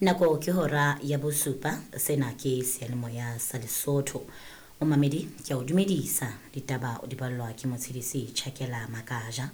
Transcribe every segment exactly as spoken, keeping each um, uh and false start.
Nako ke hora ya bosupa, sena ke seyalemoya sa Lesotho. Momamedi, ke a o dumedisa. Ditaba o di ballwa ke Motshedisi Chakela Makaja.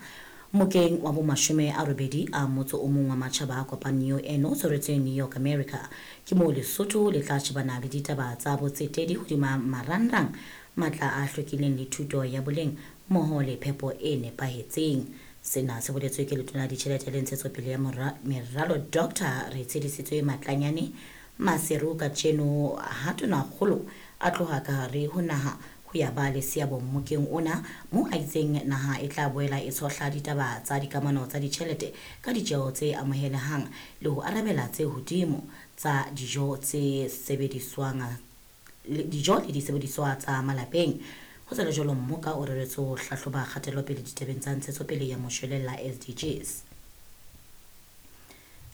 Mokeng wa bomashome a robedi a motso o mong wa matjhaba a kopaneng U N o tshwaretsweng New York, America. Ke moo Lesotho le tla shebana le ditaba tsa botsetedi hodima marangrang, matla a hlwekileng le thuto ya boleng mmoho le phepo e nepahetseng. Sena se boletswe ke Letona la Ditjhelete le Ntshetsopele ya Meralo Doctor Retshedisitswe Matlanyane Maseru kajeno ha Tonakgolo a tloha ka hare ho naha ho ya ba le seabo mmokeng ona, moo a itseng naha e tla boela e tshohla ditaba tsa dikamano tsa ditjhelete ka ditjeo tse amohelehang le ho arabela tse hodimo tsa dijo tse sebediswang, dijo le disebediswa tsa malapeng. Ho sa le jwalo, mmoka o reretswe ho hlahloba kgatelopele ditabeng tsa ntshetsopele ya moshwelella S D Gs.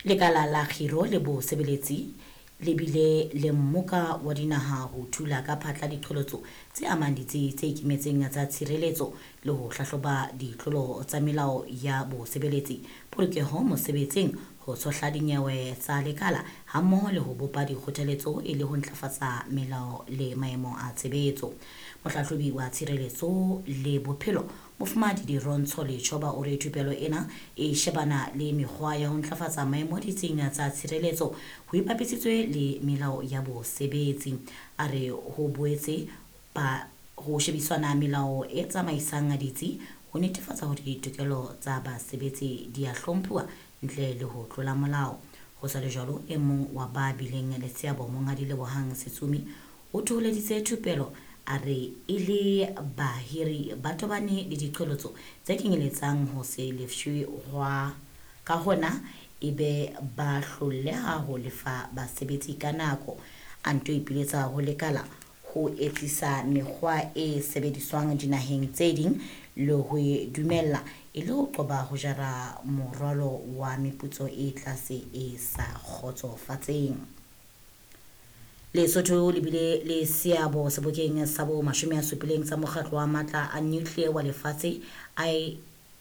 Lekala la kgiro le bosebeletsi le bile le mmoka wa dinaha ho thula ka phatla diqholotso tse amang ditsi tse ikemetseng tsa tshireletso le ho hlahloba ditlolo tsa melao ya bosebeletsi, polokeho mosebetsing, ho tshohla dinyewe tsa lekala hammoho le ho bopa dikgothaletso e le ho ntlafatsa melao le maemo a tshebetso. Mohlahlobi wa tshireletso le bophelo Mofumahadi Dirontsho Letjhoba o re thupelo ena e shebana le mekgwa ya ho ntlafatsa maemo ditsing tsa tshireletso ho ipapisitswe le melao ya bosebetsi. A re ho boetse ba ho shebisana melao e tsamaisang ditsi ho netefatsa hore ditokelo tsa basebetsi di a hlomphuwa ntle le ho tlola molao. Ho sa le jwalo, e mong wa ba bileng le seabo Monghadi Lebohang Setsumi o thoholeditse thupelo, a re e le bahiri ba tobane le diqholotso tse kenyeletsang ho se lefshwe hwa ka hona e be ba hloleha ho lefa basebetsi ka nako. A nto ipiletsa ho lekala ho etsisa mekgwa e sebediswang dinaheng tse ding le ho e dumella e le ho qoba ho jara morwalo wa meputso e tlase e sa kgotsofatseng. Lesotho le bile le seabo sebokeng sa bo mashome a supileng sa mokgatlo wa matla a nuclear wa lefatshe I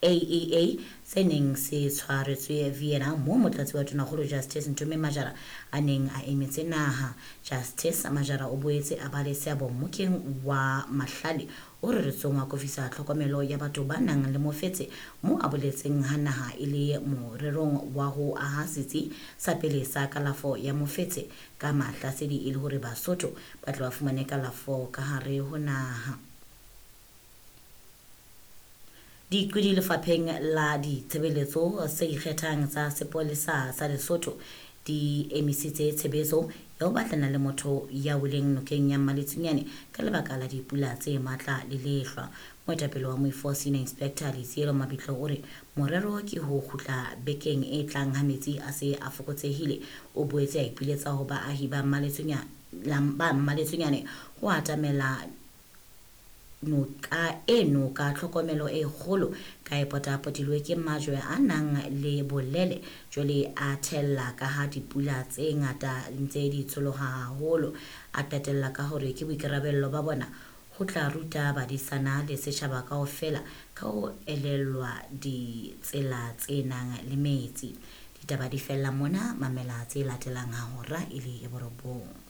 A E A se neng se tshwaretswe Vienna, moo motlatsi wa Tonakgolo Justice Ntume Majara a neng a emetse naha. Justice Majara o boetse a ba le seabo mmokeng wa mahlale o reretsweng wa akofisa tlhokomelo ya batho ba nang le mofetshe, moo a boletseng ha naha e le morerong wa ho aha setsi sa pele sa kalafo ya mofetshe ka mahlasedi e le hore Basotho ba tle ba fumane kalafo ka hare ho naha. Diqwedi lefapheng la ditshebeletso tse ikgethang tsa sepolesa sa Lesotho di emisitse tshebetso ya ho batlana le motho ya weleng nokeng ya Mmaletsunyane ka lebaka la dipula tse matla le lehlwa. Moetapele wa moifo Senior Inspector Letsielo Mabitlo o re morero ke ho kgutla bekeng e tlang ha metsi a se a fokotsehile. O boetse a ipiletsa ho baahi ba ba Mmaletsunyane ho atamela noka eno ka tlhokomelo e kgolo ka e potapotilwe ke majwe a nang le bolele jwale a thella ka ha dipula tse ngata ntse di tsholoha haholo. A qetella ka hore ke boikarabello ba bona ho tla ruta badisana le setjhaba kaofela ka ho elellwa ditsela tse nang le metsi. Ditaba di fella mona, mamela tse latelang ha hora e le ya borobong.